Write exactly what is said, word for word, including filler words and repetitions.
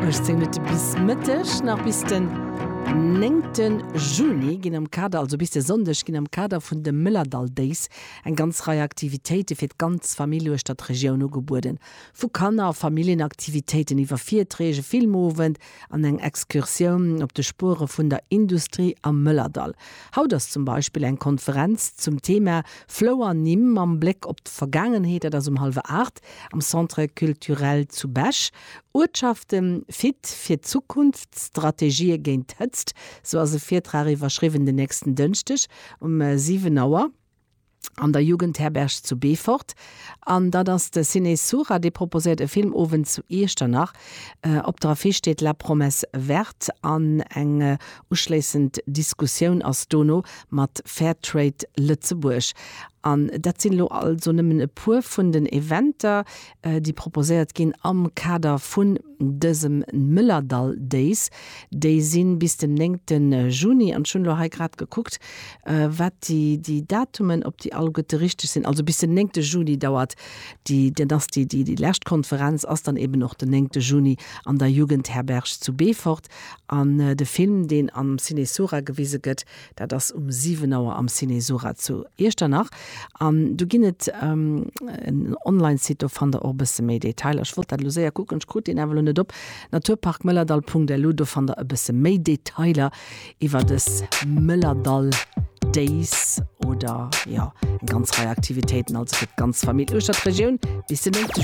Uechtzéng Minutte bis Mëtteg. Nach bis den néngte Juni ginn am Kader, also bis de Sonndeg, ginn am Kader vun de Mëllerdall Days eng ganz Rei Aktivitéite fir d'ganz Famill uechter d'Regioun ugebueden. Vu Kanner a Familljenaktivitéiten iwwer Virträg, e Filmowend an eng Excursioun op de Spuere vun der Industrie am Mëllerdall. Haut ass zum Beispill eng Konferenz zum Thema Flouernimm mam Bléck op d'Vergaangenheet, dat ass um hallwer aacht am Centre culturel zu Bech. Uertschafte fit fir d'Zukunft, Strategië géint d'Hëtzt, sou ass e Virtrag iwwerschriwwen den nächsten Dënschdeg um siwen Auer an der Jugendherberg zu Beefort. An dat ass de Ciné Sura, dee proposéiert e Filmowend zu Iechternach. Op der Affiche steet La promesse verte an eng uschléissend Diskussioun ass dono mat Fairtrade Lëtzebuerg. An dat sinn elo also nëmmen e puer vun den Eventer, déi proposéiert ginn am Kader vun dësem Mëllerdall Days. Déi si bis den néngte Juni. An ech hunn elo hei grad gekuckt, wat déi, déi Datumen, ob déi alleguerte richteg sinn. Also bis den néngte Juni dauert déi, dann ass déi, déi, déi lescht Konferenz ass dann eben och den néngte Juni an der Jugendherberg zu Beefort. An de Film, deen am Ciné Sura gewise gëtt, dat ass um siwen Auer am Ciné Sura zu Iechternach. An do ginn et en Online-Site, do fannt der och e bësse méi Detailer. Ech wollt dat elo séier kucken, ech krut deen awer elo net op, naturparkmëllerdall punkt lu, do fannt der e bësse méi Detailer iwwer dës Mëllerdall Days oder jo, eng ganz Rei Aktivitéiten, also fir d'ganz Famill uechter d'Regioun bis den néngte.